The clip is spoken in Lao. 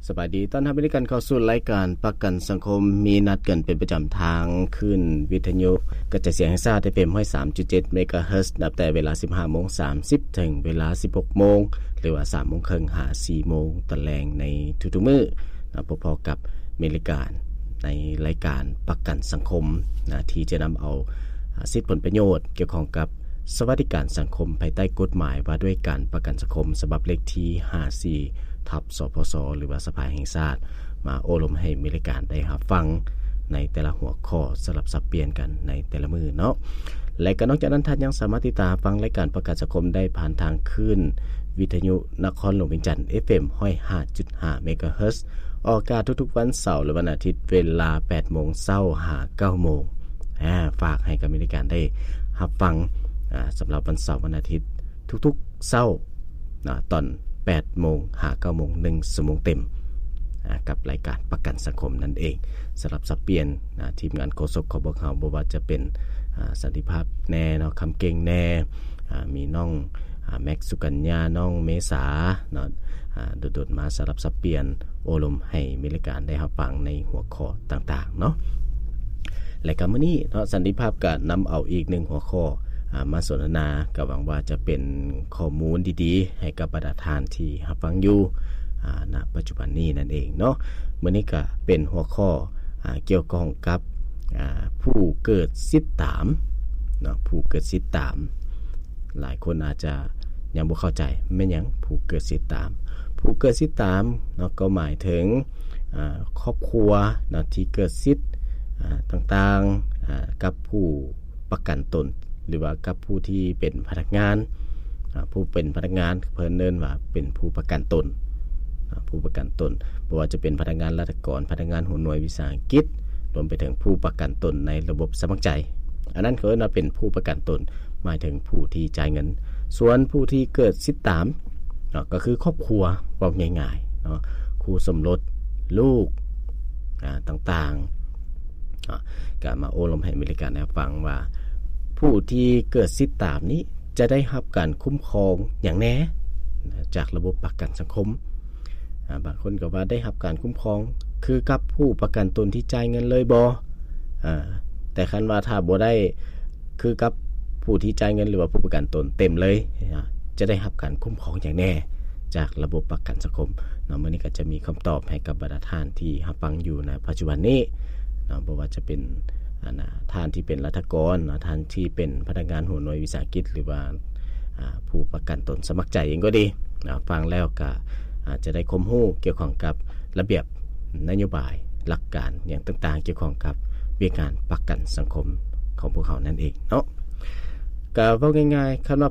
ສະບາຍດີ ຕ້ອນຮັບເຂົ້າສູ່ລາຍການປະກັນສັງຄົມ ມີນັດກັນເປັນປະຈຳທາງຄື້ນວິທະຍຸກະຈາຍສຽງແຫ່ງຊາດ ເອັຟເອັມ ຮ້ອຍສາມຈຸດເຈັດ ເມກາເຮີດ ນັບແຕ່ເວລາ ສິບຫ້າໂມງສາມສິບ ເຖິງເວລາ ສິບຫົກໂມງ ຫຼືວ່າ ສາມໂມງເຄິ່ງ ຫາ ສີ່ໂມງຕອນແລງໃນທຸກໆມື້ ນະ ພົບພໍ້ກັບເມກາ ໃນລາຍການປະກັນສັງຄົມ ນະ ທີ່ຈະນຳເອົາ ອາ ສິດຜົນປະໂຫຍດກ່ຽວຂ້ອງກັບສະຫວັດດີການສັງຄົມ ພາຍໃຕ້ກົດໝາຍວ່າດ້ວຍການປະກັນສັງຄົມ ສະບັບເລກທີ ຫ້າສິບສີ່ ທັບ ສພສ ຫຼືວ່າສະພາແຫ່ງຊາດ ມາໂອ້ລົມໃຫ້ເມກາໄດ້ຮັບຟັງໃນແຕ່ລະຫົວຂໍ້ ສະຫຼັບສັບປ່ຽນກັນໃນແຕ່ລະມື້ເນາະ. ແລະ ກໍນອກຈາກນັ້ນ ທ່ານຍັງສາມາດຕິດຕາມຮັບຟັງລາຍການປະກັນສັງຄົມໄດ້ຜ່ານທາງຄື້ນວິທະຍຸນະຄອນຫຼວງວຽງຈັນ ເອັຟເອັມ ຮ້ອຍຫ້າຈຸດຫ້າ ເມກາເຮີດ ອອກອາກາດທຸກໆວັນເສົາ ແລະ ວັນອາທິດ ເວລາ ແປດໂມງເຊົ້າ ຫາ ເກົ້າໂມງ. ອາ ຝາກໃຫ້ກັບເມກາໄດ້ຮັບຟັງ ອາ ສຳລັບວັນເສົາ ວັນອາທິດ ທຸກໆເຊົ້າ ນະ ຕອນ ແປດໂມງ ຫາ ເກົ້າໂມງ ໜຶ່ງຊົ່ວໂມງເຕັມ ອາ ກັບລາຍການປະກັນສັງຄົມນັ້ນເອງ. ສະຫຼັບສັບປ່ຽນ ນະ ທີມງານໂຄສົກຂອງພວກເຮົາ ບໍ່ວ່າຈະເປັນ ອາ ສັນຕິພາບແດ່ເນາະ ຄຳເກັ່ງແດ່ ອາ ມີນ້ອງ ອາ ແມັກ ສຸກັນຍາ ນ້ອງເມສາເນາະ ອາ ດົນໆມາສະຫຼັບສັບປ່ຽນໂອ້ລົມໃຫ້ເມກາໄດ້ຮັບຟັງໃນຫົວຂໍ້ຕ່າງໆເນາະ. ແລະ ກໍມື້ນີ້ເນາະ ສັນຕິພາບກໍນຳເອົາອີກໜຶ່ງຫົວຂໍ້ ອາ ມາສົນທະນາ ກໍຫວັງວ່າຈະເປັນຂໍ້ມູນດີໆໃຫ້ກັບບັນດາທ່ານທີ່ຮັບຟັງຢູ່ ອາ ນະປັດຈຸບັນນີ້ນັ້ນເອງເນາະ. ມື້ນີ້ກໍເປັນຫົວຂໍ້ ອາ ກ່ຽວຂ້ອງກັບ ອາ ຜູ້ເກີດສິດຕາມເນາະ ຜູ້ເກີດສິດຕາມ. ຫຼາຍຄົນອາດຈະຍັງບໍ່ເຂົ້າໃຈ ແມ່ນຫຍັງຜູ້ເກີດສິດຕາມ? ຜູ້ເກີດສິດຕາມເນາະ ກໍໝາຍເຖິງ ອາ ຄອບຄົວເນາະ ທີ່ເກີດສິດ ອາ ຕ່າງໆ ອາ ກັບຜູ້ປະກັນຕົນ ຫຼືວ່າກັບຜູ້ທີ່ເປັນພະນັກງານ ອາ ຜູ້ເປັນພະນັກງານ ເພິ່ນເອີ້ນວ່າເປັນຜູ້ປະກັນຕົນ ອາ ຜູ້ປະກັນຕົນ ບໍ່ວ່າຈະເປັນພະນັກງານລັດຖະກອນ, ພະນັກງານຫົວໜ່ວຍວິສາຫະກິດ, ລວມໄປເຖິງຜູ້ປະກັນຕົນໃນລະບົບສະໝັກໃຈ, ອັນນັ້ນເຂົາເອີ້ນວ່າເປັນຜູ້ປະກັນຕົນ, ໝາຍເຖິງຜູ້ທີ່ຈ່າຍເງິນ. ສ່ວນຜູ້ທີ່ເກີດສິດຕາມເນາະ ກໍຄືຄອບຄົວ ເວົ້າງ່າຍໆເນາະ, ຄູ່ສົມລົດ, ລູກ ອາ ຕ່າງໆ ເນາະ ກໍມາໂອ້ລົມໃຫ້ເມກາໄດ້ຟັງວ່າ ຜູ້ທີ່ເກີດສິດຕາມນີ້ຈະໄດ້ຮັບການຄຸ້ມຄອງຫຍັງແດ່ຈາກລະບົບປະກັນສັງຄົມ. ອາ ບາງຄົນກໍວ່າໄດ້ຮັບການຄຸ້ມຄອງຄືກັບຜູ້ປະກັນຕົນທີ່ຈ່າຍເງິນເລີຍບໍ່? ອາ ແຕ່ຄັນວ່າຖ້າບໍ່ໄດ້ຄືກັບຜູ້ທີ່ຈ່າຍເງິນ ຫຼືວ່າຜູ້ປະກັນຕົນເຕັມເລີຍ ຈະໄດ້ຮັບການຄຸ້ມຄອງຫຍັງແດ່ຈາກລະບົບປະກັນສັງຄົມເນາະ. ມື້ນີ້ກໍຈະມີຄຳຕອບໃຫ້ກັບບັນດາທ່ານທີ່ຮັບຟັງຢູ່ໃນປັດຈຸບັນນີ້ເນາະ, ບໍ່ວ່າຈະເປັນ ອັນ ອາ ທ່ານທີ່ເປັນລັດຖະກອນເນາະ, ທ່ານທີ່ເປັນພະນັກງານຫົວໜ່ວຍວິສາຫະກິດ ຫຼືວ່າ ອາ ຜູ້ປະກັນຕົນສະໝັກໃຈເອງກໍດີເນາະ, ຟັງແລ້ວກໍອາດຈະໄດ້ຄວາມຮູ້ກ່ຽວຂ້ອງກັບລະບຽບ ນະໂຍບາຍ ຫຼັກການຫຍັງຕ່າງໆ ກ່ຽວຂ້ອງກັບວຽກງານປະກັນສັງຄົມຂອງພວກເຮົານັ້ນເອງເນາະ. ກໍເວົ້າງ່າຍໆ ຄັນວ່າ